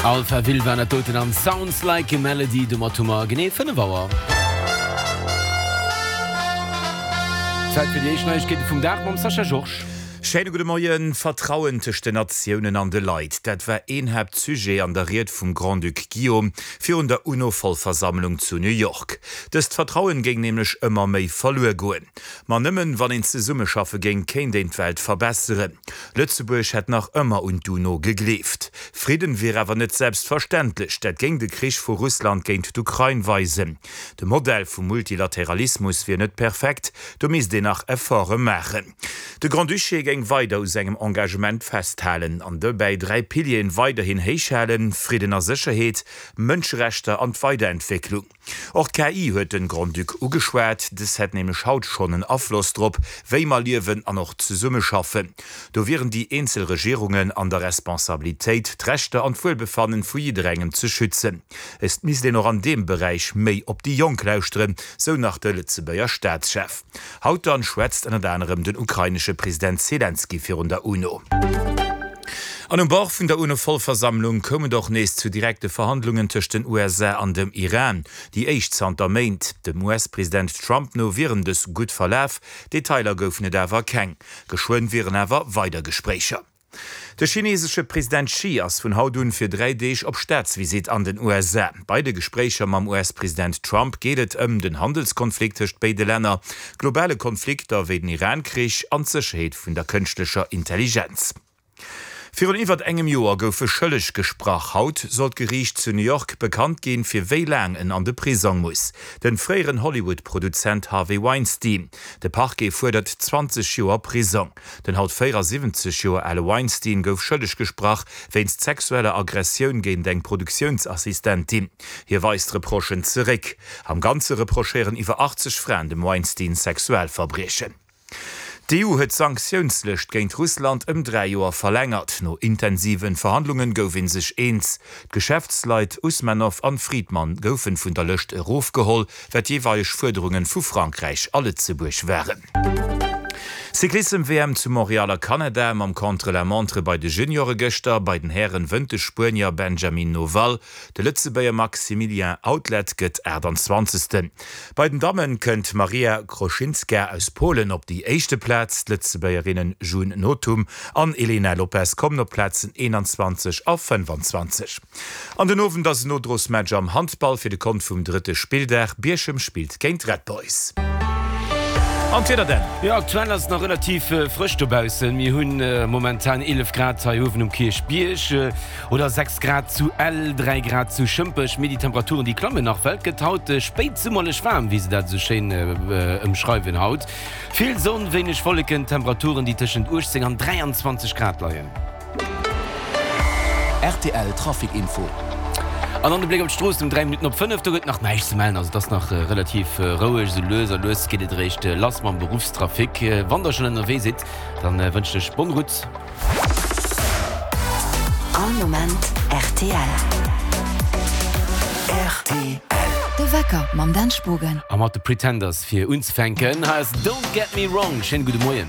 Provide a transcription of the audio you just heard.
Alphaville waren dat doten an Sounds Like a Melody. Domat hu mer genee 5 Auer. Zäit fir déi éischt Neiegkeete vum Dag mam Sascha Georges. Schéine gudde Moien. Vertrauen tëscht den Natiounen an de Leit, dat war een Haaptsujet an der Ried vum Grand-Duc Guillaume virun der UNO-Vollversammlung zu New York. Dëst Vertrauen géing nämlech ëmmer méi verluer goen. Ma nëmmen wann een zesummeschaffe géing, kéint een d'Welt verbesseren. Lëtzebuerg hätt nach ëmmer un d'UNO gegleeft. Fridden wier awer net selbstverständlech, dat géing de Krich vu Russland géint d'Ukrain weisen. De Modell vum Multilateralismus wier net perfekt, do misst een nach Efforte maachen. De Grand-Duché géing weider u sengem Engagement festhalen an dobäi 3 Pilieren weiderhin héich halen, Fridden a Sécherheet, Mënscherechter an d'Weiderentwécklung. Och d'KI huet den Grand-Duc ugeschwat. Dës hätt nämlech haut schonn en Afloss drop, wéi mer liewen an och zesummeschaffen. Do wieren déi eenzel Regierungen an der Responsabilitéit, d'Rechter an d'Wuelbefannen vu jidderengem ze schützen. Et misst een och an deem Beräich méi op déi Jonk lauschteren, sou nach de Lëtzebuerger Staatschef. Haut dann schwätzt ënnert anerem den ukrainesche President Selenskyj virun der UNO. An um Bord vun der UNO-Vollversammlung koum et och nees zu direkte Verhandlungen tëscht den USA an dem Iran, déi éischt zanter Méint. Dem US-President Trump no wieren dës gutt verlaf, Detailer goufen et awer keng. Geschwënn wieren awer weider Gespréicher. De chinesesche President Xi ass vun haut un fir 3 Deeg op Staatsvisitt an den USA. Bei de Gespréicher mam US-President Trump geet et ëm den Handelskonflikt tëscht béide Länner, globale Konflikter wéi den Iran-Krich an d'Sécherheet vun der kënschtlecher Intelligenz. Virun iwwert engem Joer gouf e schëlleg gesprach. Haut soll d'Geriicht zu New York bekannt ginn, fir wéi laang en an de Prisong muss. Den fréieren Hollywood-Produzent Harvey Weinstein. De Parquet fuerdert 20 Joer Prisong. Den haut 74 Joer ale Weinstein gouf schëlleg gesprach wéinst sexueller Aggressioun géint eng Produktiounsassistentin. Hie weist d'Reprochen zeréck. Am Ganze reprochéieren iwwer 80 Fraen dem Weinstein Sexualverbriechen. D'EU huet d'Sanktiounslëscht géint Russland ëm 3 Joer verlängert. No intensive Verhandlungen gouf ee sech eens. D'Geschäftsleit Usmanow an Fridman goufen vun der Lëscht erofgeholl, wat jeeweileg Fuerderungen vu Frankräich a Lëtzebuerg waren. Cyclissem-WM zu Montréal a Kanada mam Contre-la-montre bei de Juniore gëschter. Bei den Hären wënnt de Spuenier Benjamin Noval, de Lëtzebuerger Maximilien Outlet gëtt 28. Bei den Dammen kënnt d'Maria Kroschinska aus Polen op déi éischte Plaz, d'Lëtzebuergerinnen June Nothum an Elena Lopes kommen op d'Plazen 21 a 25. An den Owend ass en Nodrosmatch am Handball fir de Kont vum drëtte Spilldag. Bierchem spillt géint Red Boys. An d'Wieder denn? Jo, aktuell ass et nach relativ frësch dobaussen. Mir hunn momentan 11 Grad hei uewen um Kierchbierg oder 6 Grad zu Ell, 3 Grad zu Schëmpech. Mee déi Temperaturen, déi klammen nach, well et gëtt haut spéitsummerlech waarm, wéi se dat esou schéin ëmschreiwen haut. Vill Sonn, wéineg Wolleken, Temperaturen, déi tëschent 18 an 23 Grad leien. Rtl Trafic Info. An dann de Bléck op d'Stroossen um 3 Minutten op 5. Do gëtt nach näischt ze mellen, also et ass nach relativ roueg. Esou lues a lues geet et eréischt lass mam Beruffstrafic. Wann der schonn ënnerwee sidd, dann wënschen ech bonne route. All Moment rtl. Rtl. De Wecker mam Dan Spogen. A mat de Pretenders fir unzefänken. Hei ass Don't Get Me Wrong. Schéine gudde Moien.